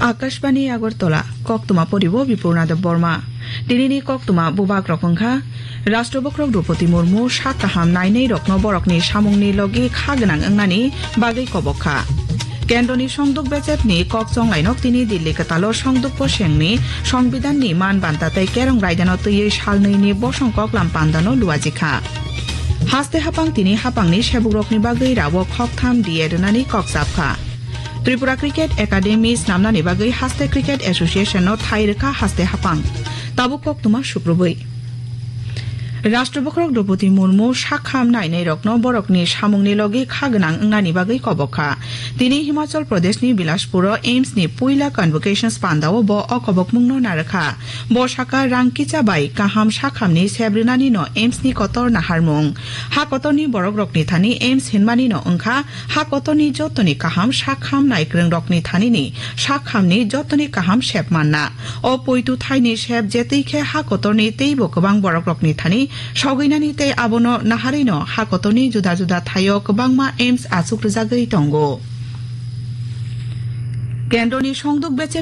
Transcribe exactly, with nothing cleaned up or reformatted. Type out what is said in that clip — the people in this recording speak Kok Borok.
Akashbani Agartala, koktwma poribo Bipurna Debbarma. Tinini koktwma bubak rok wngkha, Rashtrabhakrok Droupadi Murmu sak kaham nainai rokno borokni samungni logi kha gwnang wngnani bagwi kobok kha. Kendroni songduk bechepni kok chonglainok tini Dilli kwtalo songduk posengni Songbidanni man banta tei kerong raidano twiwi salnwini bosong koklam pandano luaji kha. Haste hapang tini hapangni sebukrokni bagwi rawok khoktham D A rwnani kok chap kha. Tripura Cricket Academy snamnani bagwi Haste Cricket Association no thai rwkha haste hapang. Tabuk koktwma sukrubwi. Rashtrabhakrok Droupadi Murmu sakham nainai rokno borokni samungni logi kha gwnang wngnani bagwi kobok kha. Tini Himachal Pradeshni Bilaspuro AIIMS ni puila convocations pandao bo o kobokmungno narwkha. Bo saka rang kicha bai kaham sakhamni sep rwnani no AIIMS ni kotor naharmung. Ha kotorni borok rokni thani AIIMS hinmani no wngkha ha kotorni jotoni kaham sakham naikwrwng rokni thanini sakhamni jotoni kaham sep manna. O poitu thaini sep jetwi khe ha kotorni teibo kwbang borok rokni thani sogwinani tei abono naharwi no ha kotorni juda juda thaio kwbangma AIIMS achuk rwjagwi tongo. Kendroni songduk beche